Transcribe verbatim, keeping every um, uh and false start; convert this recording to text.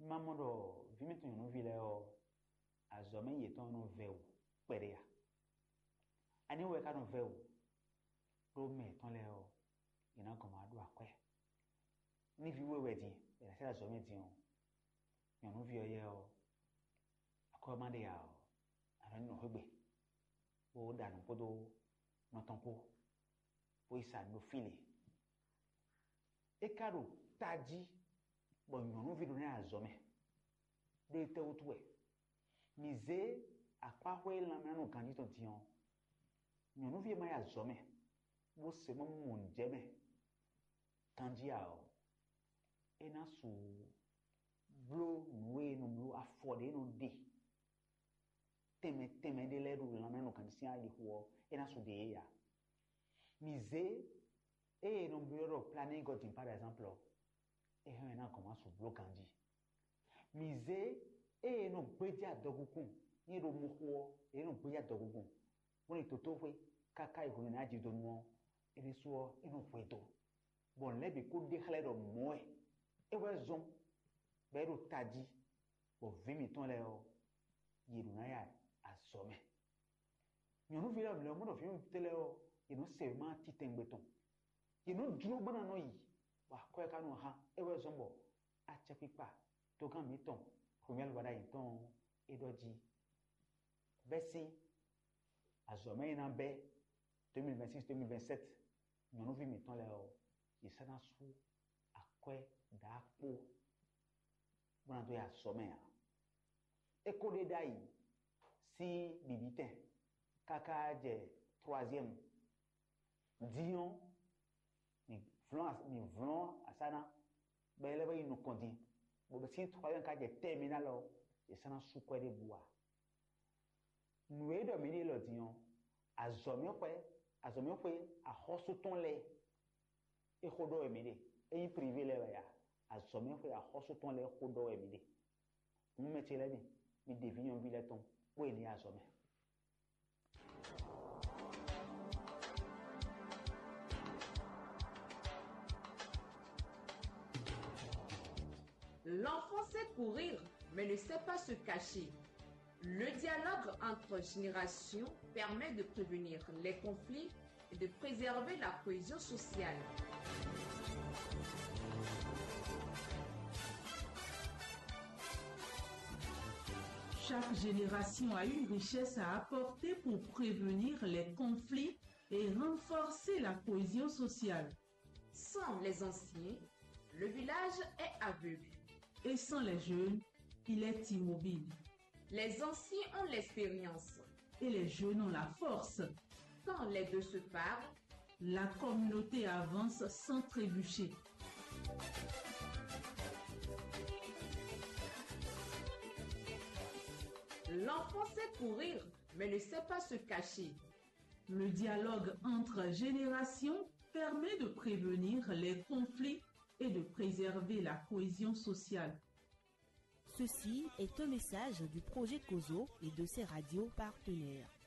Ma mɔ ɖɔ vǐ mǐtɔn nyɔ̌nuví lɛ́ɛ ɔ́, azɔ̌ mɛ yětɔn nɔ vɛ́ wǔ kpɛɖé a? Ani wɛ ka nɔ vɛ́ wǔ ɖó mɛ yětɔn lɛ́ɛ ɔ́, yě ná gɔn ma ɖó akwɛ́. Ní vǐ we wɛ din, è nǎ sɛ́ azɔ̌ mɛ din ɔ́, nyɔ̌nuví ɔ́ yɛ ɔ́, akwɛ́ ɔ́ ma ɖe ǎ ɔ́, a nɔ nyí nɔ xwé gbe, bó ɖa nǔ kpódó nɔ tɔn kpó, bó yi sa nǔ ɖo fí lě. É ka ɖo tají bɔ nyɔ̌nuví ɖo ná yi azɔ̌ mɛ. Ɖó étɛ́ wútu wɛ? Mǐ zé akpáxwé lanmɛnánɔ ganjí tɔn din ɔ́, nyɔ̌nuví e ma yi azɔ̌ mɛ, bó se mɔ mɔ nǔjɛ mɛ ganjí ǎ ɔ́, é ná su bló nǔ e è nɔ bló, afɔ ɖě è nɔ ɖe tɛnmɛ tɛnmɛ ɖé lɛ́ɛ ɖo lanmɛnánɔ ganjí sín aɖixo ɔ́, é ná su ɖe yě ǎ. Mǐ zé ée è nɔ byɔ́ ɖɔ planning God din, par exemple ɔ́, é hɛn ɔ́, é ná gɔn wá su bló ganjí. Mǐ zé ée è nɔ gbéjé adɔgúnkún, ní è ɖo mɔ xo ɔ́, è nɔ gbéjé adɔgúnkún, bó ní dǒtóxwé káká yi hwenu ná jidonu ɔ́, é ɖésú ɔ́, é nɔ hwe do, bɔ nǔ lɛ́ɛ bǐ kó ɖe xlɛ́ ɖɔ mɔ̌ wɛ é wɛ zɔ́n, bɔ é ɖo tají, bɔ vǐ mǐtɔn lɛ́ɛ ɔ́, yě ɖo ná ya azɔ̌ mɛ. Nyɔ̌nuví lɛ́ɛ lɛ́ɛ mɔ ɖɔ vǐ nyɔ̌nu tɛ́ lɛ́ɛ ɔ́, yě nɔ se wěma titɛngbe tɔn. Yě nɔ jló bó ná nɔ yi, bɔ akwɛ́ ka nɔ hán. É wɛ zɔ́n bɔ acɛkpikpa togán mǐtɔn Xwemɛlú Baɖayi tɔn ɔ́, é ɖɔ jí: bɛ́ sín azɔ̌ mɛ e ná bɛ́ deux mille vingt-six, deux mille vingt-sept, nyɔ̌nuví mǐtɔn lɛ́ɛ ɔ́, yě sɔ́ ná sú akwɛ́ ɖǎkpó bó ná dó yi azɔ̌ mɛ ǎ. É ko ɖe ɖ'ayǐ sín bǐbítɛn káká jɛ troisième. Din ɔ́, mǐ vlɔ́n as- mǐ vlɔ́n asá ná, bɔ é lɛ́ vɔ yi nukɔn din, bɔ bɛ sín troisième ka jɛ terminale ɔ́, è sɔ́ ná sú kwɛ́ ɖěbǔ ǎ. Nǔ e ɖɔ mǐ ɖe lɔ din ɔ́, azɔ̌mɛxwɛ azɔ̌mɛxwé axɔ́sú tɔn lɛ́ɛ é xó ɖɔ wɛ mǐ ɖe. É nyí privé lɛ́ɛ wɛ a? Azɔ̌mɛxwé axɔ́sú tɔn lɛ́ɛ xó ɖɔ wɛ mǐ ɖe. Hǔn mɛ ce lɛ́ɛ mi, mi ɖe vǐ nyɔ̌nuví lɛ́ɛ tɔn, bó e ní azɔ̌ mɛ. L'enfant sait courir, mais ne sait pas se cacher. Le dialogue entre générations permet de prévenir les conflits et de préserver la cohésion sociale. Chaque génération a une richesse à apporter pour prévenir les conflits et renforcer la cohésion sociale. Sans les anciens, le village est aveugle. Et sans les jeunes, il est immobile. Les anciens ont l'expérience. Et les jeunes ont la force. Quand les deux se parlent, la communauté avance sans trébucher. L'enfant sait courir, mais ne sait pas se cacher. Le dialogue entre générations permet de prévenir les conflits et de préserver la cohésion sociale. Ceci est un message du projet Kozo et de ses radios partenaires.